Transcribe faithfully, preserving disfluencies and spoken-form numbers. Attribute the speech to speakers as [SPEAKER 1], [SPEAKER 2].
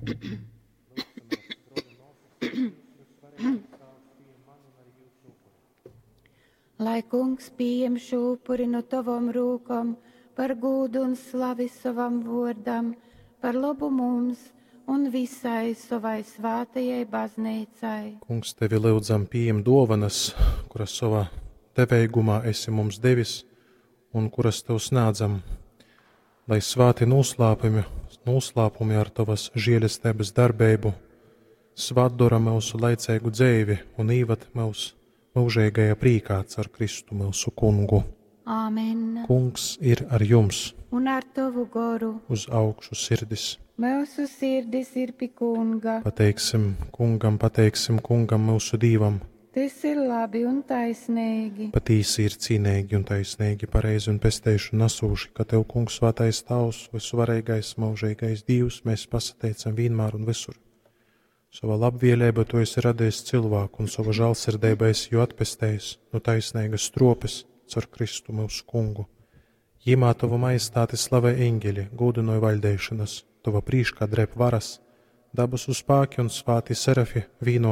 [SPEAKER 1] Lūgsimies, broli, māsas, lai Dievs vysvarenais Tāvs pījem mani un arī jūsu upuri.
[SPEAKER 2] Lai kungs pieņem šo upuri no tavom rūkom par gūdu un slavi savam vārdam, par labu mums un visai savai svētajai baznīcai.
[SPEAKER 1] Kungs, tevi lūdzam, pieņem dāvanas, kuras savā deveigumā esi mums devis un kuras tev sniedzam, lai svēti noslēpumi, noslēpumi ar tavas žēlestības darbību svētdara mūsu laicīgu dzīvi un īvad mūs mūžīgajā prīkā caur Kristu mūsu kungu.
[SPEAKER 2] Āmen.
[SPEAKER 1] Kungs ir ar jums,
[SPEAKER 2] Un ar tavu goru
[SPEAKER 1] uz augšu sirdis.
[SPEAKER 2] mūsu sirdis ir pie kunga.
[SPEAKER 1] Pateiksim kungam, pateiksim kungam mūsu dīvam.
[SPEAKER 2] Tas ir labi un taisnīgi.
[SPEAKER 1] Patīsi ir cīnīgi un taisnīgi, pareizi un pesteišu nesūši, ka Tev, Kungs, svētais Tavs, visuvarīgais, mūžīgais Dievs, mēs pasateicam vienmēr un visur. Sava labvēlība Tu esi radījis cilvēku un sava žēlsirdība esi jū atpestējis no taisnīgas stropes caur Kristu mūsu kungu. Jīmā Tavu majestāti slavē eņģeļi, gūdinoja vaļdēšanas, Tava prīškā drēb varas, dabasu spēki un svēti serafi vīnoti